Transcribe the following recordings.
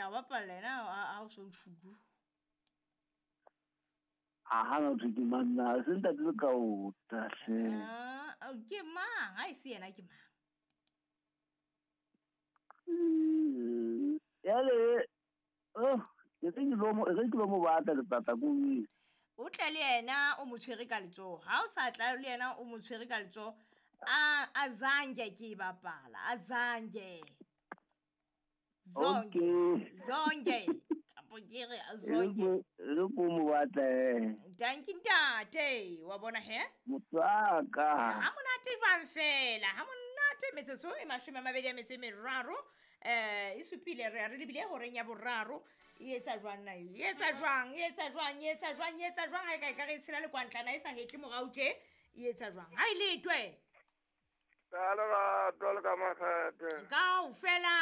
tla o bapalla ena ha o so tšhuku. A ga na thwe ke mang na se ntate le ka ota hle. Ah, ke mang ha e se yena ke mang? Yale oh ke re ke lo mo re ke lo mo batla letsatsa ko O tle le yena o mo tshwere ka letsoho. Ha o sa tla le yena o mo tshwere ka letsoho. A azange ke e bapala, azange. Zonke. Zonke. Kapo ke re zonke. Re ko mo batla eh. Danki ntate, wa bona he? Motswaka. Ha monate jwang fela, ha monate metsotso e 20 a metso e meraro. E supile re re lebile horeng ya boraro. E etsa jwang na? E etsa jwang? E etsa jwang? E etsa jwang? E etsa jwang? Ha e ka e ka re tshela le kwantlana e sa hetle morao tje. E etsa jwang? Ha e letwe. Ka lerato le ka makgethe. Kaofela.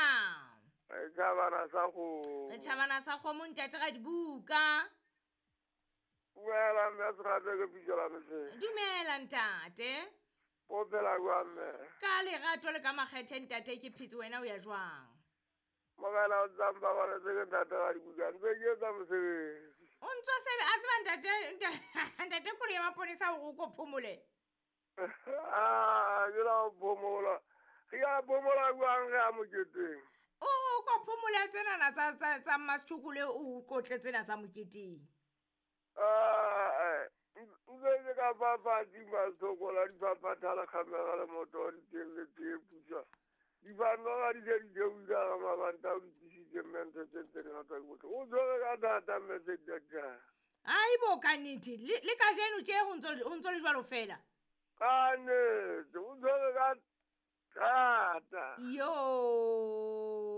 Re tjhabana sa kgomo. Re tjhabana sa kgomo ntate ga dibuka. Dumela mme Serate ke pitso la mehleng. Dumela ntate. O phela jwang mme? Ka lerato le ka makgethe ntate ke phetse wena o ya jwang? Morena o tsamba ba le ke ntate ga dibuka ntse ke etsa mosebetsi. O ntso sebe a tseba ntate ntate kore ya maponesa hore o ko phomole. Ah, ke la phomola. Re ya phomola jwang re ya moketeng? O ko phomola tsenana tsa tsa tsa Mmasithokole o kotle tsena tsa moketeng. Ah, ntse ke ka papadi Mmasithokola dipapathala khamera le moto di teng le tee pusa. Dibano ga di se di theohile ka mabanta o di tlisitse mme ntho tse ntse di ngata ke bohloko. O tshwere ka thata mme se di jang. Aibo ka nnete le kajeno tje ho ntso le jwalo fela. Ka nnete o tshwere ka thata. Yo.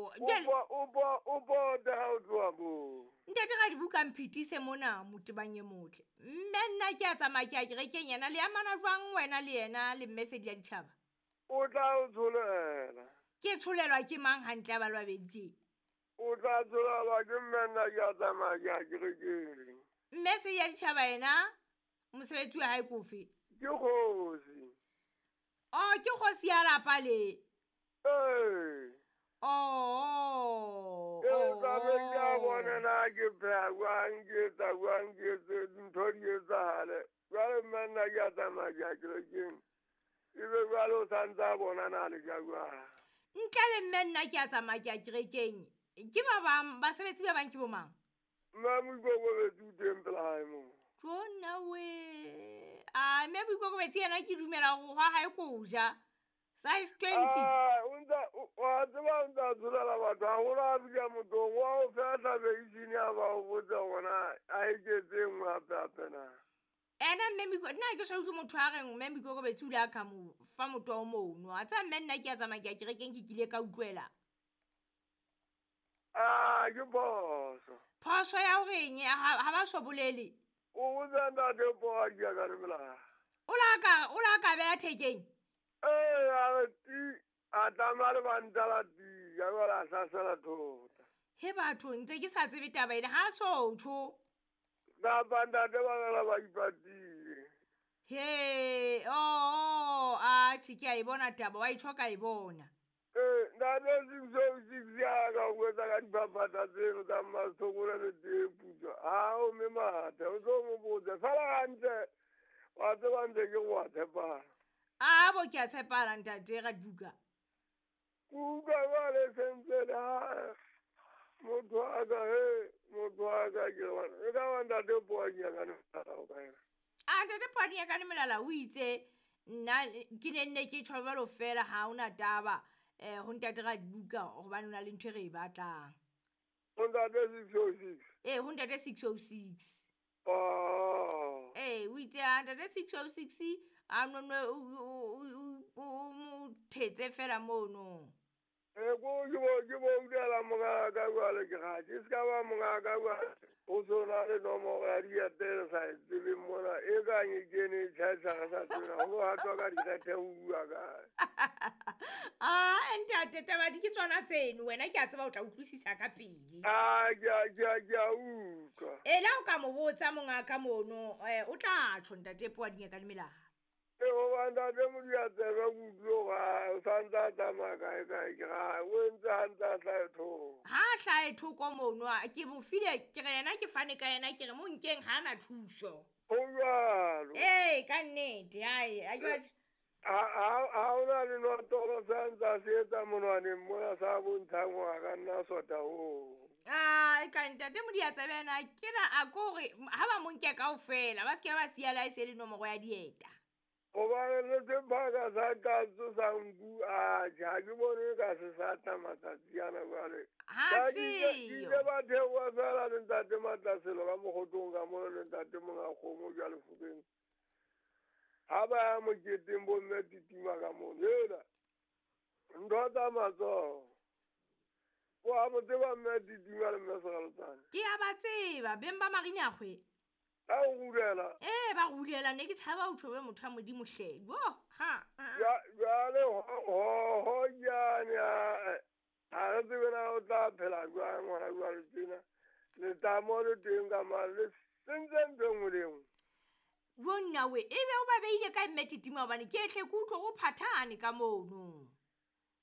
O bote ha o tloha moo. Ntate ga dibuka mphitise mona motebang e motle. Mme nna ke a tsamaya ke ya kerekeng yena le amana jwang wena le yena le mme Sedi ya Ditjhaba? O tla o tsholela. Ke tsholelwa ke mang hantle ba le babedi tje? O tla tsholelwa ke mme nna ke a tsamaya ke ya kerekeng. Mme Sedi ya Ditjhaba yena mosebetsi wa hae ke ofe? Ke kgosi. Oh, ke kgosi ya lapa le. Ee. Oh. Ee, tla be ke a bona na ke pheha jwang, ke etsa jwang, ke etse dintho di etsahale. Jwale mme nna ke a tsamaya ke ya kerekeng. Ebe jwale o sa ntse a bona na le ja jwang. Ntle le mme nna ke a tsamaya ke ya kerekeng. Ke ba bang basebetsi ba bang ke bo mang? Mme Moikokobetsi o teng pela hae moo. Tsona we. A mme Moikokobetsi yena ke dumela hore hwa hae ko ja. Size 20. Ah, o ntsa wa tseba o ntsa tsholela batho haholo a fihla mothong wa o fehla beisine a ba o botsa hore a eketse e nngwe hape hape na. Ena mme Moiko nna ke so utlwe motho a reng mme Moikokobetsi o ile a ka mo fa motho o mono. A tseba mme nna ke a tsamaya ke ya kerekeng ke kile ka utlwela. Ah, ke phoso. Phoso ya horeng ha ba so bolele. O botsa ntate po a di ka re melala. O la ka beha thekeng. Ee, a re ti a tsamaya le banta la ti ya jwale a hlasela thota. He batho ntse ke sa tsebe taba ena ha so tjho. Kapa ntate ba rela ba ipatile. He, oh, a tjhe ke a e bona taba wa itjho ka e bona. Ee, ntate 606 ya ka o etsa ka dipapatsa tseno tsa Mmasithokole le tee putswa. Ha o mme mathe o tlo mo botsa fela hantle wa tseba ntse ke go a tshepana. A bo ke a tshepana ntate ga dibuka. Kuka jwale sentse le ha motho a ka he motho a ka ke wa e ka ba ntate Poadi ya ka melala o ka ena. A ntate Poadi ya ka melala o itse nna ke ne nne ke tjho jwalo fela ha ona taba ho ntate ga dibuka hobane o na le ntho e re e batlang. Ho ntate 606. Ee, ho ntate 606. Oh. Ee, o itse a ntate 606 a nonwe o mo thetse fela mono. Ee, ko ke bo utlwela monga ka jwale ke ga ke se ka ba monga ka jwale. O so na le nomoro ya diete re sa e tsebeng mona e kang e kene e tjhaisa re sa tsebeng ho hatwa ka dikgethe ho bua kae. Ah, ntate taba di ke tsona tseno wena ke a tseba o tla utlwisisa ka pele. Ah, ke a utlwa. Ela o ka mo botsa monga ka mono o tla tjho ntate Poadi ya ka le melala. E goba ntate Modiatsebe ke utlwile gore o santse a tsamaya kae kae ke ga o entse gantse a hlae thoko. Ha a hlae thoko mono ke mo file ke re yena ke fane ka yena ke re mo nkeng ha na thuso. Go jalo. Ee ka nnete ai a ke batla Ha o na le notolo sa ntse a se etsa monwaneng mona sa bontshang gore a ka nna sota oo. A ka ntate Modiatsebe ena ke na a kore ha ba mo nke kaofela ba se ke ba siya la e se le nomoro ya dieta. Gobane le sebaka sa katso sa nku atjhe ha ke bone ka se sa tla matsatsi ana jwale. Ha Ke seyo. ile ba theoha fela le ntate Matlaselo ka mokgotong ka mona le ntate monga kgomo jwale Fokeng. Ha ba ya moketeng bo mme Titima ka mono. Hela ntho tsa matsoho. Wa mo tseba mme Titima le mme Seralotsane. Ke a ba tseba beng ba Marinyakgwe. A o rulela. Ee ba rulela ne ke tshaba ho tjho motho wa Modimo hle. Bo ha. Jwale ho jane ha re tsebe na o tla phela jwang hona jwale tjena. Letamo le teng ka mane le sentse ntho e nngwe le e nngwe. Jo nna we ebe o ba beile kae mme Titima hobane ke hle ke utlwe go phathane ka mono.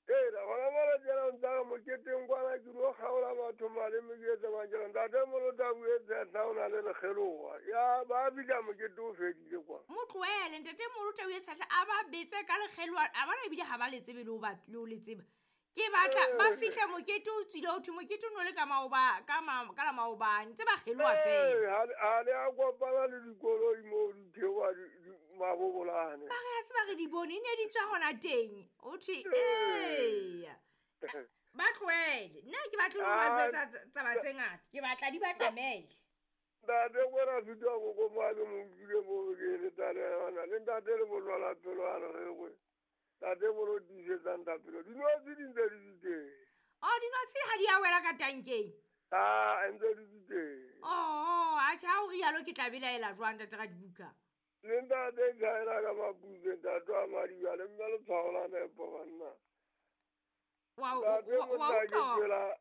Ee, gona mona tjena o ntsa re moketeng kwana ke lo kgaola batho maleme ke etse mang ke re ntate Molotau e tshehla o na le lekgeloha. Ya ba fihla mokete o fedile kwa. Mo tlohele ntate Molotau e tshehla a ba betse ka lekgeloha a bona ebile ha ba le tsebe le ho ba le ho le tseba. Ke batla ba fihle mokete o tswile ho thwe mokete o no le ka maoba ka ka la maobane ntse ba kgeloha fela. Ee, ha le a kopana le dikoloi moo di theoha mabobolane. Ba re a tseba re di bone e ne di tswa hona teng. O thwe eya. Ba tlohele. Nna ke batle ho ba jwetsa taba tse ngata. Ke batla di ba tjamele. Ntate kwena fitwa koko mo a ke mo utlwile mo ke eletsa le yona. Le ntate le bolwala pelo a re re Ntate bolo tiisetsang thapelo. Dinotshi di ntse di le teng. Oh, dinotshi ha di a wela ka tankeng. Ah, ntse di le teng. Oh, atjhe ha o rialo ke tla belaela jwang ntate Radibuka? Le ntate Thaela ka maputse ntate wa Madiba le mme letshwao la nepo banna. Wa utlwa.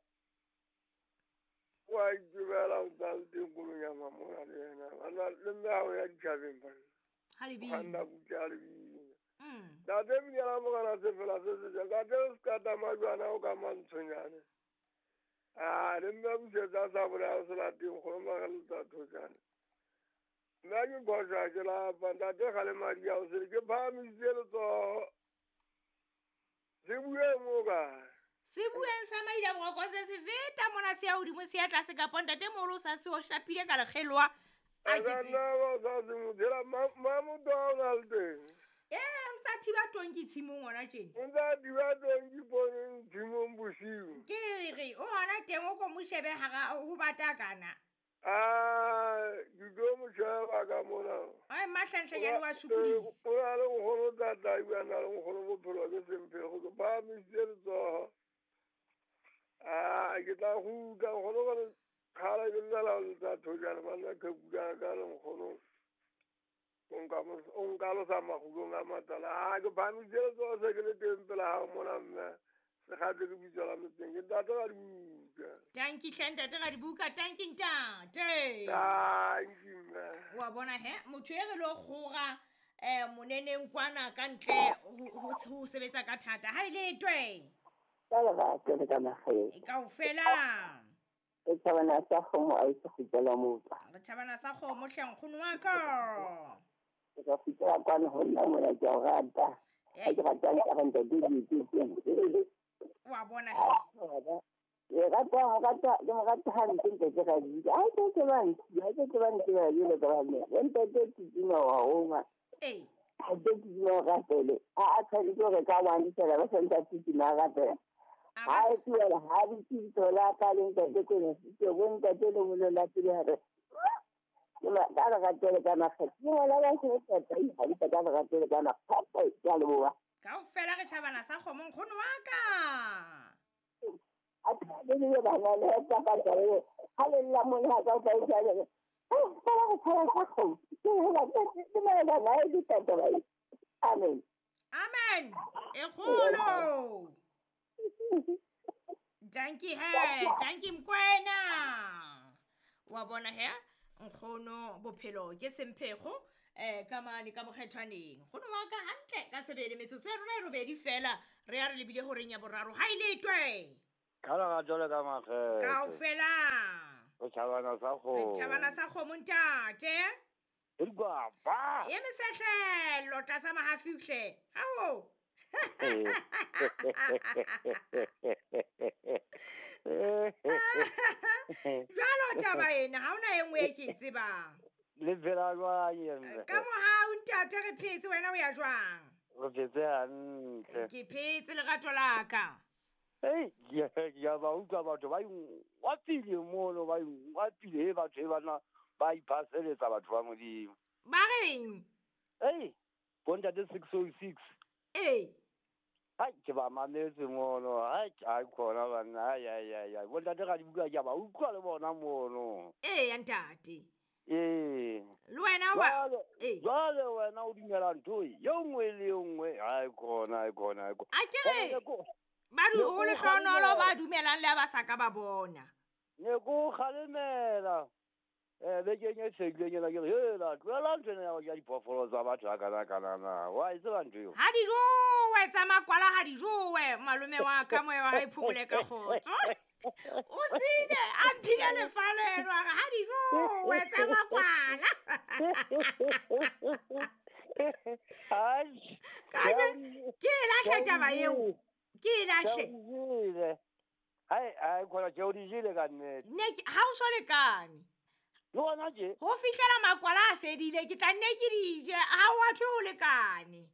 Wa itebela o ntsa le teng kolonyama mona le yena. Banna le mme ha o ya ditjhabeng banna. Ha le bina. Kganna butle ha le bina. Ntate Monyana Mogana se fela se se jang. Ntate o se ka tamajwana o ka mantshonyane. Ah, le mme busetsa sa bolaya se lateng kgolo mageletsa thojane. Nna ke phoša ke lapa ntate ga le madi ao sele ke phahamisitse letsoho. Se bueng mo kae? Se bueng sa maila boroko se feta mona se ya hodimo se ya tlase kapa ntate moholo o sa se o hlapile ka lekgeloha. A ke Ka nna ba sa se mo dira mamotho a o na le teng. Ee, ntsa thiba tonki tshimong hona tjena. Ntsa thiba tonki poneng tshimong bosiu. Ke re o hona teng o ko mo shebe hara ho bata kana. Ah, ke tlo mo sheba ka mona. Ai mahlanhlanyane wa sokodisa. O na le nkgono tata ebile a na le nkgono bophelo ke semphego ke phahamisitse letsoho. Ah, ke tla kgutla nkgono ka kgala ke llela ho letsa thojana banna qhekula ka le nkgono. O nka losa makgulong a matala. Ah, ke phahamisitse letsoho se ke le teng pela hao mona mme. Sekgatle ke bitso la motseng ke ntate Radibuka. Tanki hle ntate Radibuka, tanki ntate. Tanki mme. Wa bona he, motho e re lo kgora moneneng kwana ka ntle ho sebetsa ka thata. Ha ile twe. Ka lerato le ka makgetho. Kaofela. Re thabana sa kgomo a itse go tsela motho. Re thabana sa kgomo hle nkgono wa ka. Ke ka fitela kwana ho nna mona ke a o rata. Ha ke ratang ka re ntate di. Wa bona he. Rata ke mo rata hampe ntate Radibuka. Ha ke ke ba ntse, ha ke ke ba ntse ba jelo ka ba mme. Ntate Titima wa homa. Ee. Ha ke Titima o rapele. A a tshwanetse hore ka one fela ba santse a Titima a rapela. Ha e tlohela ha di thola ka le ntate ko ke bo ntate le molola pele hare. Ke ka lerato le ka makgetho. Ke ngwana ba se tata ha di ka lerato le ka makgetho ke a leboha. Kaofela re tjhabana sa kgomo nkgono wa ka. A tla le bana le tsa ka tsare. Ha le lla mona ka ka tsare. Fela re tshaba sa kgomo. Ke hela ke mela na e di tata ba. Amen. Amen. E kgolo. Dankie he, dankie Mkwena. Wa bona he, nkgono bophelo ke semphego. Ka mane ka mokgethwaneng kgono wa ka hantle ka sebele metsotso ya rona e robedi fela re ya re lebile horeng ya boraro ha e letwe Ka lerato le ka makgethe. Kaofela. O tjhabana sa kgomo. Tjhabana sa kgomo ntate. E dikwapa. E mesehlelo tlasa mahafihle. Ao. Jwalo taba ena ha hona e nngwe e ke e tsebang. Le phela jwang emme? Ka mohau ntate re phetse wena o ya jwang? Re phetse hantle. Ke phetse lerato la ka. Ei, ke a ba utlwa batho ba ingwapile mono, ba ingwapile he batho e bana ba iphaseletsa batho ba Modimo. Ba reng? Ei, bontate 606. Ee. Hai, ke ba mametse mono. Hai, hai khona banna. Ai ai ai ai. Bontate ga di bua ke a ba utlwa le bona mono. Ee, ntate. Ee. Le wena wa Jwale wena o dumela ntho e nngwe le e nngwe. Hai khona, hai khona, hai khona. A ke re ba du o lehlohonolo ba dumelang le ha ba sa ka ba bona. Ne ko kgalemela. Bekeng e fetileng ena ke re, hela, tlohela ntho ena ya ho ja diphoofolo tsa batho ha kana kana na. Wa e tseba ntho eo? Ha di jowe tsa makwala ha di jowe malome wa ka moya wa hae phomole ka kgotso. O sile a mphile lefaleno a re ha di jowe tsa makwala. Ke e lahle taba eo. Ke e lahle. Hai, hai khona ke o di jele ka nnete. Ne ha o so lekane. Le hona tje? Ho fihlela makwala a fedile ke tla nne ke di je ha o a thwe o lekane.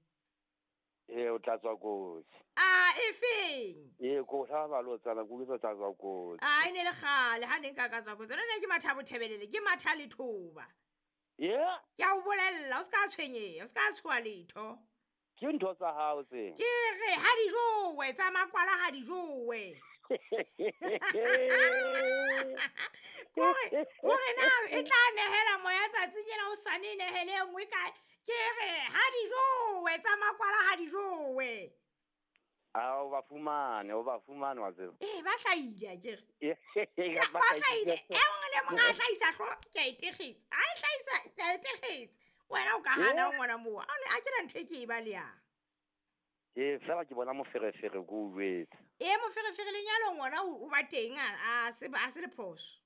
Ee, o tla tswa kotsi. A e feng? Ee, ko hlaba balotsana ke utlwe tla tswa kotsi. A e ne le kgale ha ne nka ka tswa kotsi. Jwale ke matha bothebelele, ke matha lethoba. Ye? Ke a o bolella, o ska tshwenyeha, o ska tshoha letho. Ke ntho tsa hao tse. Ke re ha di jowe tsa makwala ha di jowe. Kore na e tla nehela moya tsatsing ena o sane nehele e nngwe kae? Ke re ha di jowe tsa makwala ha di jowe. A o ba fumane, o ba fumane wa tseba. Ee, ba hlahile akere. Ba hlahile. E nngwe le mong a hlahisa hlo ke a e tekgetsa. A e hlahisa ke a e tekgetsa. Wena o ka hana ngwana moo. A ke na ntho e ke e balehang. Ee, fela ke bona moferefere ke o jwetse. Ee, moferefere lenyalong ona o ba teng a se le phoso.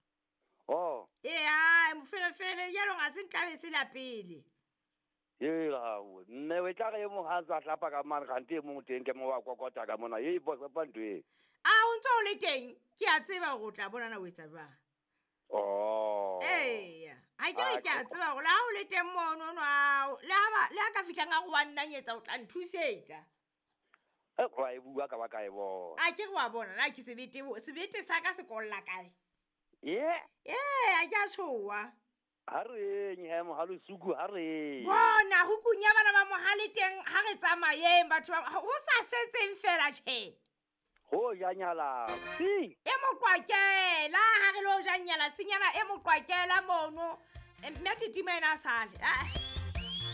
Oh. Ee, a moferefere lenyalong a se ntlabe se la pele. Ee, mme o tla re e mong ha a hlapa ka mane kgante e mong teng ke mo wa kokota ka mona. Ee, bosepa ntho e. A o ntso o le teng, ke a tseba hore o tla bonana o etsa jwang. Oh. Ee, ha ke re ke a tseba hore le ha o le teng mono no ao, le ha ka fihlang a go wa nnanyetsa o tla nthusetsa. Wa e bua ka ba ka e bona. A ke re wa bona na ke sebete, sebete sa ka se kolla kae? Ye? Ee, a ke a tshoha. Ha re eng he mohale suku ha re. Bona hukung ya bana ba mohale teng ha re tsamayeng batho ba ho sa setseng fela tjhe. Ho ja nyala. Si. E moqwakela ha re lo ja nyala senyana e moqwakela mono. Mme titima ena a sale.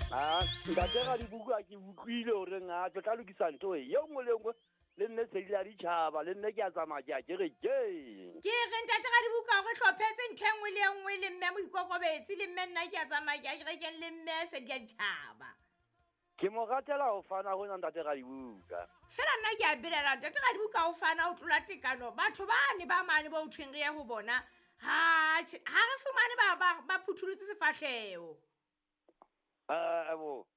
Ah, ntate ga di buka ke utlwile hore nga tlo tla lokisa ntho e nngwe le nngwe le nne se di ditjhaba le nne ke a tsamaya ke a ke re ke. Ke re ntate ga di buka hore hlophetse ntho e nngwe le nngwe le mme moikokobetsi le mme nna ke a tsamaya ke a kerekeng le mme se di ditjhaba. Ke mo ratela ho fana ho nna ntate ga di buka. Fela nna ke a belela ntate ga di buka ho fana ho tlola tekano batho ba ne ba mane ba o thweng re ye ho bona ha ha re fumane ba phuthulutse sefahleho. Abo.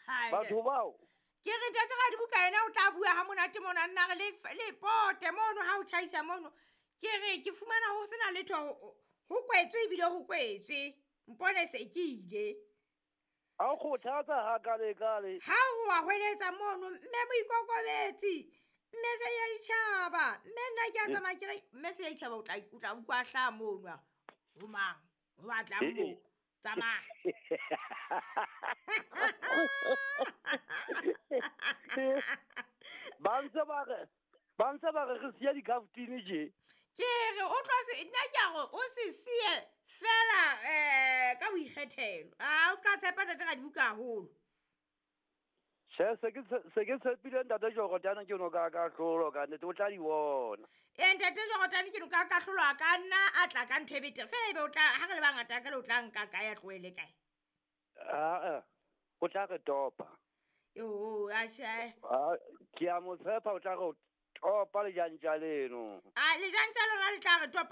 Batho bao. Ke re ntate ga di buka ena o tla bua ha monate mona nna re le pote mono ha o tjhaisa mono. Ke re ke fumana ho sena letho ho kwetswe ebile ho kwetswe. Mpone se ke ile. A o kgothatsa ha kale kale. Ha o wa hweletsa mono mme moikokobetsi mme se ya ditjhaba mme nna ke a tsamaya ke re mme se ya ditjhaba o tla utlwa hlaha mono. Ho mang? Ho batla mo. Tsamaya. Ba ntse ba re re siya dikhaftini je. Ke re o tlo se nna ke a re o se siye fela ka boikgethelo. A o ska tshepa ntate ga di buka haholo. Tjhe, se ke tshepile ntate Jordan ke no ka kahlolo ka nnete o tla di bona. Ee, ntate Jordan ke no ka kahlolo a ka nna a tla ka ntho e betere. Fela ebe o tla ha re le bangata ka le o tla nka kae a tlohele kae? Aa, o tla re topa. Yo, ashe. Ah, ke a mo tshepa o tla re topa lejantja leno. A lejantja lona le tla re topa.